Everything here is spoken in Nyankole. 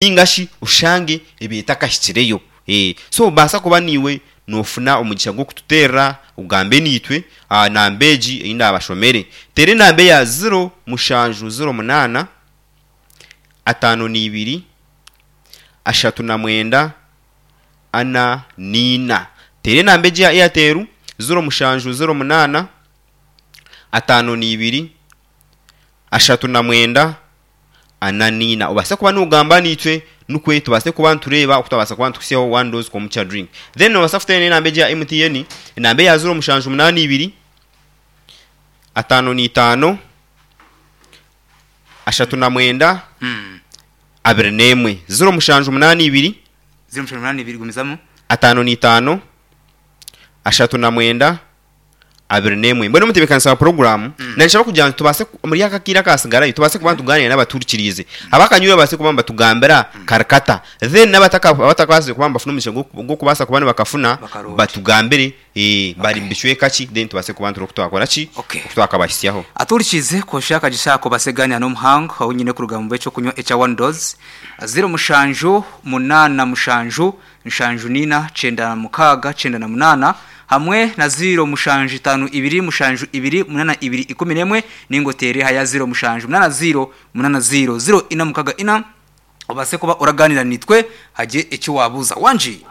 Ninga shi oshange ebiire etakahikireyo. So obaasa kuba naiwe noofuna omugisha gw'okututeerera ogambe naitwe aha namba egi ei naabashomere. Teera enamba eya ziro mushanju ziro munaana, ataano na ibiri, ashatu na mwenda, ana na ina. Teera enamba egi eya Airtel, 0708, 52, 39, 44. Obaase kuba nogamba naitwe nikwe tubaase kuba nitureeba oku twabaasa kuba nitukuhitsyaho one dose komukya drink. Then nobaasa kuteera n'enamba egi eya MTN, enamba eya 0782, 55, 39, 21. 0782. 0782 gumizamu. 55, 39, 21. Mbwenu omutebeekanisa wa puroguraamu naanshaba kugira ngu tubaase omuri aka akaire akaatsigarayo tubaase kuba nitugaaniira n'abatuhurikiriize. Abakanyweire babaase kuba nibatugambira kari kata. Then n'abatakabaasize kuba nibafuna omugisha gw'okubaasa kuba nibakafuna Bakaroota. batugambire bari mu bicweka ki then tubaase kuba nitureba oku twakora ki, Okay. oku twakabahitsyaho. Atuhurikiize kwosha akagisha ako baase kugaaniira n'omuhangu ou nyine kuruga omu b'eky'okunywa ekya One Dose, ziro mushanju munaana mushanju 74 96 98 hamwe na 0 7 2 7 2 8 2 11 ninga oteere aha ya 0 7 8 0 8 0 0 4 6 4 obaase kuba oraganira naitwe hagye eki waabuuza. Wangi!